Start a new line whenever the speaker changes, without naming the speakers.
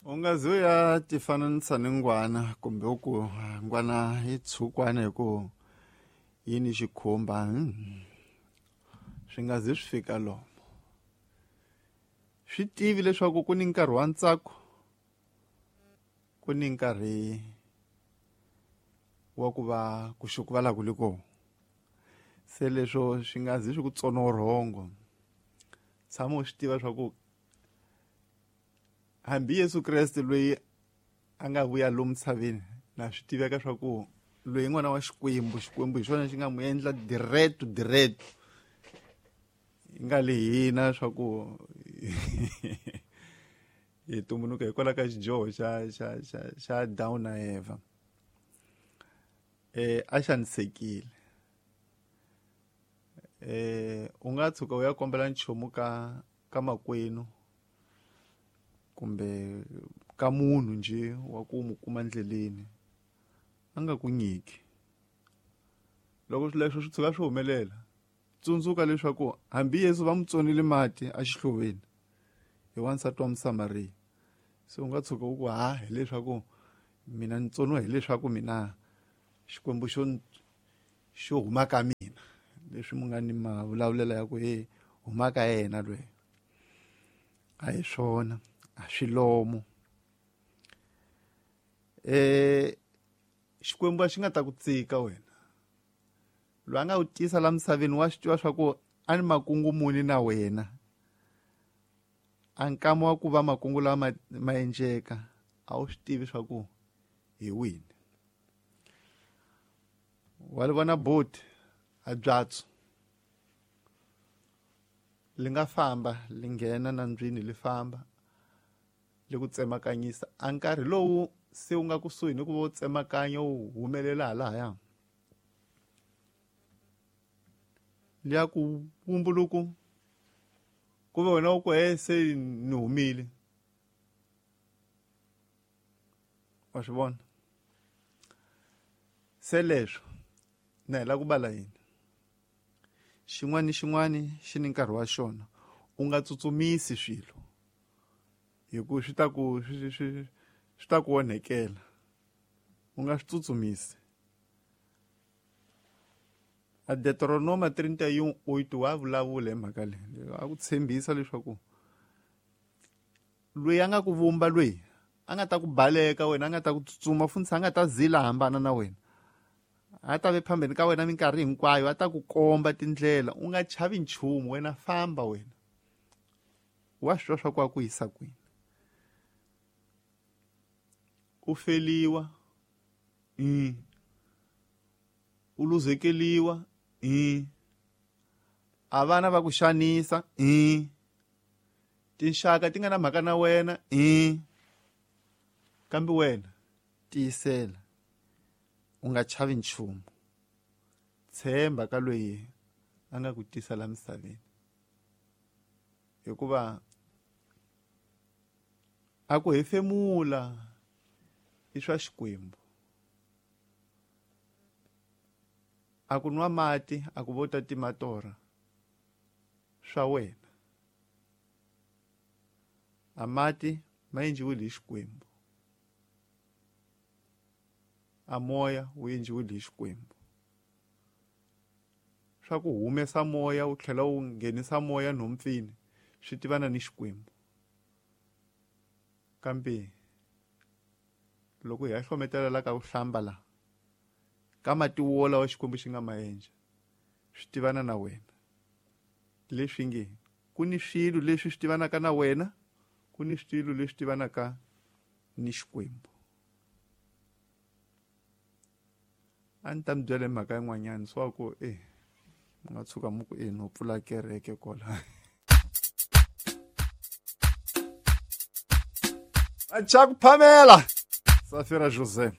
U nga zi u ya tifananisa ni ngwana kumbe u ku ngwana yi tshukwana hi ku yi ni xikhumba, swi nga zi swi fika lomo. Swi tivi leswaku ku ni nkarhi wa ntsako, ku ni nkarhi wa ku va ku xukuvala ku le kona. Se leswo swi nga zi swi ku tsona vurhongo. Tshama u swi tiva swa ku hambi Yesu Kreste loyi a nga vuya lomu misaveni, na swi tiveka swa ku loyi n'wana wa Xikwembu, Xikwembu hi xona xi nga n'wi endla direct direct. Yi nga le hina swa ku hi tumbuluka hikwalaho ka xidyoho xa Adamu na Eva. A xanisekile. U nga tshuka u ya kombela nchumu ka makwenu kumbe ka munhu nje wa ku mu kuma ndleleni, a nga ku nyiki. Loko swilo leswi swi tshuka swi humelela, tsundzuka leswaku hambi Yesu va n'wi tsonile mati exihloveni hi wansati wa Musamariya. Se u nga tshuka u ku ha hileswaku mina ni tsoniwa hileswaku mina Xikwembu xo huma ka mina, leswi mu nga ni mavulavulela ya ku he huma ka yena loyi. A hi swona, a swi lomo. Xikwembu a xi nga ta ku tsika wena. Loyi a nga ku tisa la misaveni wa swi tiva swa ku a ni makungu muni na wena. A nkama wa ku va makungu lawa ma endleka, a wu swi tivi swa ku hi wini. Wa li vona boti a byatso li nga famba li nghena nandzwini li famba li ku tsemakanyisa. A nkarhi lowu se wu nga kusuhi ni ku va u tsemakanya wu humelela halahaya, liya ku vumbuluku ku ve wena u ku he se ni humile. Wa swi vona? Se leswo na hi lava ku bala yini? Xin'wana ni xin'wana xi ni nkarhi wa xona. U nga tsutsumisi swilo hi ku swi ta ku swi, swi, swi ta ku onhekela. U nga swi tsutsumisi. A Deuteronoma 31:8 wa vulavula hi mhaka leyi. A ku tshembisa leswaku loyi a nga ku vumba, loyi a nga ta ku baleka wena, a nga ta ku tsutsuma, funtshi a nga ta zila hambana na wena, a ta ve phambeni ka wena minkarhi hinkwayo, a ta ku komba tindlela. U nga chavi nchumu, wena famba wena. Wa swi twa swa ku a ku yisa kwini. U feliwa, u luzekeliwa, a vana va ku xanisa, tinxaka ti nga na mhaka na wena, kambe wena tiyisela, u nga chavi nchumu. Tshemba ka loyi a nga ku tisa la misaveni, hikuva a ku hefemula i swa Xikwembu. A ku nwa mati, a ku vo ta tima torha, swa wena. A mati ma endliwile hi Xikwembu, a moya wu endliwile hi Xikwembu. Swa ku humesa moya wu tlhela wu nghenisa moya nhompfini swi tivana ni Xikwembu. Kambe loko hi ya hlometela la ka ku hlamba la ka mati wolawo Xikwembu xi nga ma endla, swi tivana na wena. Leswi nge ku ni swilo leswi swi tivanaka na wena, ku ni swilo leswi tivanaka ni Xikwembu. A ni ta mi byela hi mhaka yin'wanyana swa ku mi nga tshuka mi ku no pfula kereke kwala. Acha ku phamela Safira Jose.